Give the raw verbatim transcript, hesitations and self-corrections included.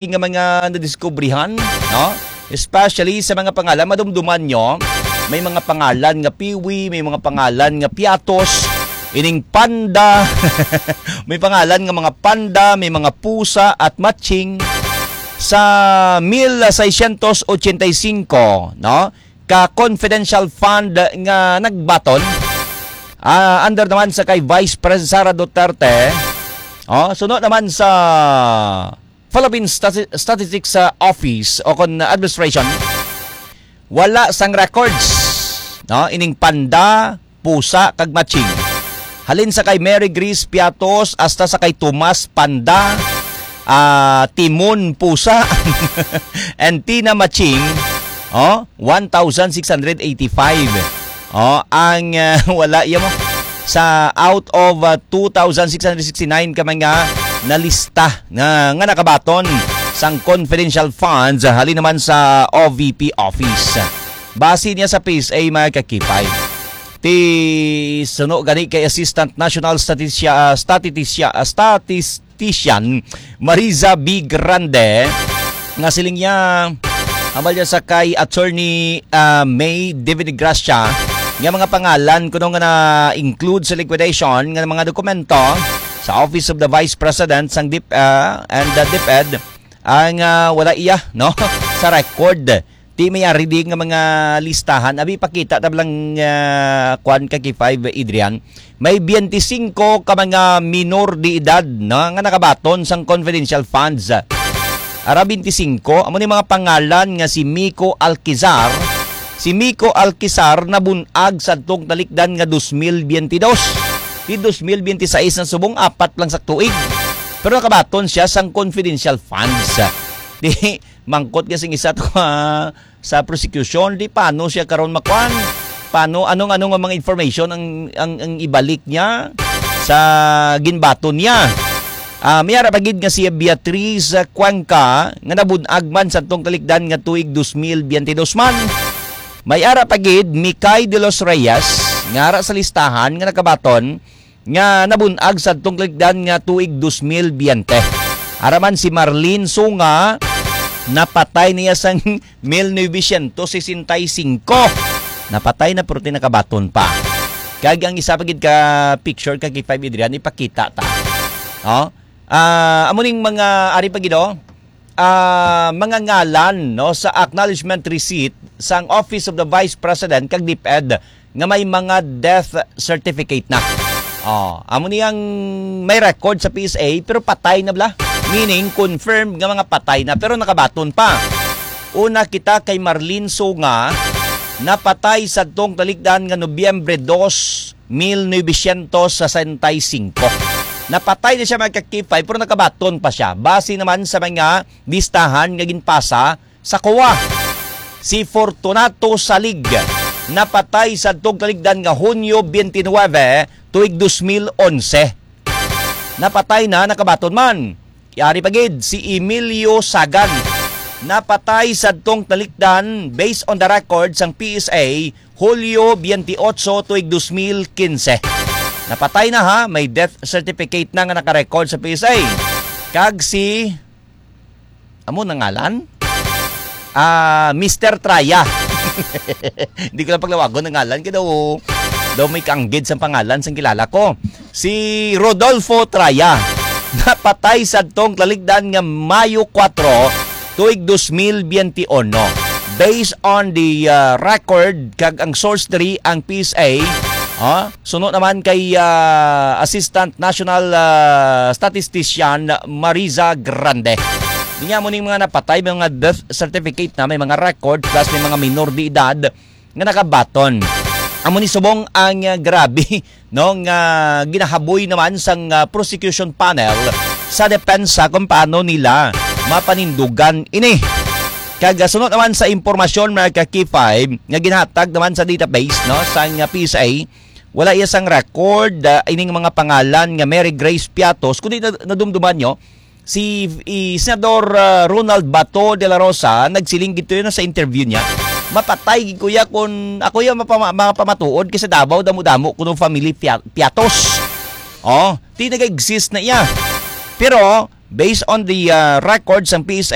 nga mga nadiskubrihan, no? Especially sa mga pangalan, madumduman nyo, may mga pangalan nga Piwi, may mga pangalan nga Piatos, ining Panda, may pangalan nga mga Panda, may mga Pusa at Matching. Sa mil seiscientos ochenta y cinco, no? Ka confidential fund nga nagbaton, ah, under naman sa kay Vice President Sara Duterte. Oh, suno naman sa Philippine Stati-, Statistics, ah, Office o kon administration, wala sang records, no, ining Panda, Pusa kag Matching. Halin sa kay Mary Grace Piatos hasta sa kay Tomas Panda, ah, Timon Pusa, and Tina Matching, oh, one thousand six hundred eighty-five. Oh, ang, ah, wala iya mo sa out of, ah, two thousand six hundred sixty-nine ka mga nalista nga, nga nakabaton sang confidential funds, ah, halin naman sa O V P office. Base niya sa P S A, mga kakipay. Ti suno gani kay Assistant National Statistia-, ah, Statistisia-, ah, Statistician Mariza B. Grande, nga siling niya, ambal niya sa kay Attorney, ah, May David Gracia, nga mga pangalan kuno nga na-include sa liquidation nga mga dokumento sa Office of the Vice President sang DIP, ah, and the DepEd, ang, ah, wala iya, no, sa record. Ti may ari di nga mga listahan. Abi, pakita ta lang, ah, kwan, ka K five, Adrian. May biyente-singko ka mga minor de edad, no, nga nakabaton sang confidential funds. Ara, biyente-singko, amo ni mga pangalan nga si Miko Alquizar. Si Miko Alquizar nabun-ag sadtong talikdan nga dos mil biyente dos. Ti dos mil biyente sais na subong, apat lang sa tuig. Pero nakabaton siya sang confidential funds. Di, mangkot nga sing isa to, ah, sa prosecution, di paano siya karon makuan? Paano, anong, anong mga information ang, ang, ang ibalik niya sa ginbaton niya? Ah, may ara pa gid nga si Beatriz Cuenca nga nabun-ag man sa tong talikdan nga tuig dos mil biyente dos man. May ara pa gid Mikay de los Reyes nga ara sa listahan nga nakabaton nga nabun-ag sa tong talikdan nga tuig dos mil biyente. Ara man si Marlene Sunga, napatay niya sang mil novecientos sesenta y cinco. Napatay na, pero ti nakabaton pa. Kag ang isa pa gid ka picture ka K five, Adrian, ipakita ta. Oh? Ah, amo ning mga ari pa gid, oh, ah, mga ngalan, no, sa acknowledgement receipt sang Office of the Vice President kag DepEd nga may mga death certificate na. Oh, amo niyang may record sa P S A pero patay na bala. Meaning, confirmed nga mga patay na pero nakabaton pa. Una kita kay Marlene Sunga, napatay sa tong talikdan nga Nobyembre dos, mil novecientos sesenta y cinco. Napatay na siya, mga ka-K five, pero nakabaton pa siya. Base naman sa mga listahan nga ginpasa sa COA. Si Fortunato Salig napatay sa tong talikdan nga Hunyo twenty-nine, tuig dos mil onse. Napatay na, nakabaton man. Yari pa gid si Emilio Sagan. Napatay sa tong talikdan, based on the record sang P S A, Hulyo twenty-eight, tuig dos mil quince. Napatay na, ha, may death certificate na nga naka-record sa P S A. Kag si, amo na ngalan? Ah, Mister Traya. Hindi ko lang paglawagon ang ngalan, kaya daw, daw may kanggid sa pangalan sang kilala ko. Si Rodolfo Traya, napatay sa tong talikdan nga Mayo kuwatro, tuig dos mil biyente uno. Based on the, ah, record kag ang source diri ang P S A, ha? Suno naman kay, ah, Assistant National, ah, Statistician Mariza Grande. Niya mo ning mga napatay, may mga death certificate na, may mga record, plus may mga minor de edad nga nakabaton. Amo ni subong ang, ah, grabe, no, nga ginahaboy naman sang, ah, prosecution panel sa depensa kung paano nila mapanindugan ini. Kag, ah, sunod naman sa impormasyon, mga ka-K five, nga ginhatag naman sa database, no, sang, ah, P S A, wala iya sang record, ah, ining mga pangalan nga Mary Grace Piatos, kundi na-, nadumduman nyo, si, i, Senador, ah, Ronald Bato de la Rosa, nagsiling gid to yun sa interview niya, "Mapatay gid ko ya kung ako ya mapama-, mapamatuod kay sa Davao damo-damo kuno family Pia-, Piatos." Oh, ti nag-exist na iya. Pero Based on the uh, records sang P S A,